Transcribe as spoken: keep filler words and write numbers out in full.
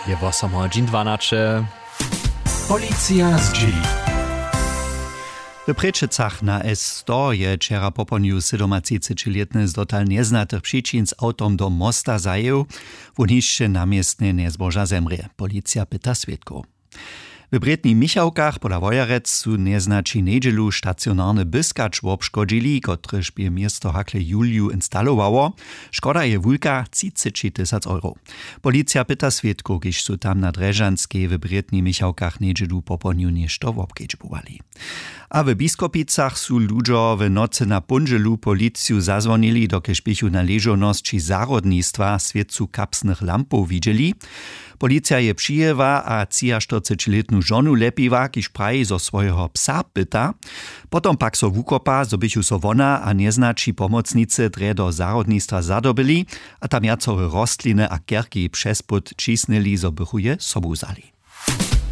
Je wosomhodźin dwanaće. Policija zdźěli. W Prěčecach na S sto je wčera popołdnju sydomatřicećilětny z dotal njeznatych přičin z awtom do mosta zajěł. Wón hišće na městnje njezboža zemrě. Policija pyta swědkow. W brětnich Michałkach pola Wojerec su njeznaći njedźelu stacionarny byskać wobškodźili, kotryž bě město hakle juliju instalowało. Škoda je wulka, třiceći tysac euro. Policija pyta swědkow, kiž su tam na drježanskej w brětnich Michałkach njedźelu popołdnju něšto wobkedźbowali. A w Biskopicach su ludźo w nocy na póndźelu policiju zazwonili, dokelž běchu na ležownosći zahrodnistwa swěcu kapsnych lampow widźeli. Policija je přijěła a třiaštyrcećilětnu žonu lepiła, kiž praji, zo swojeho psa pyta. Potom pak so wukopa, zo běchu so wona a njeznaći pomocnicy drje do zahrodnistwa zadobyli a tam wjacore rostliny a kerki přez płót ćisnyli, zo bychu je sobu wzali.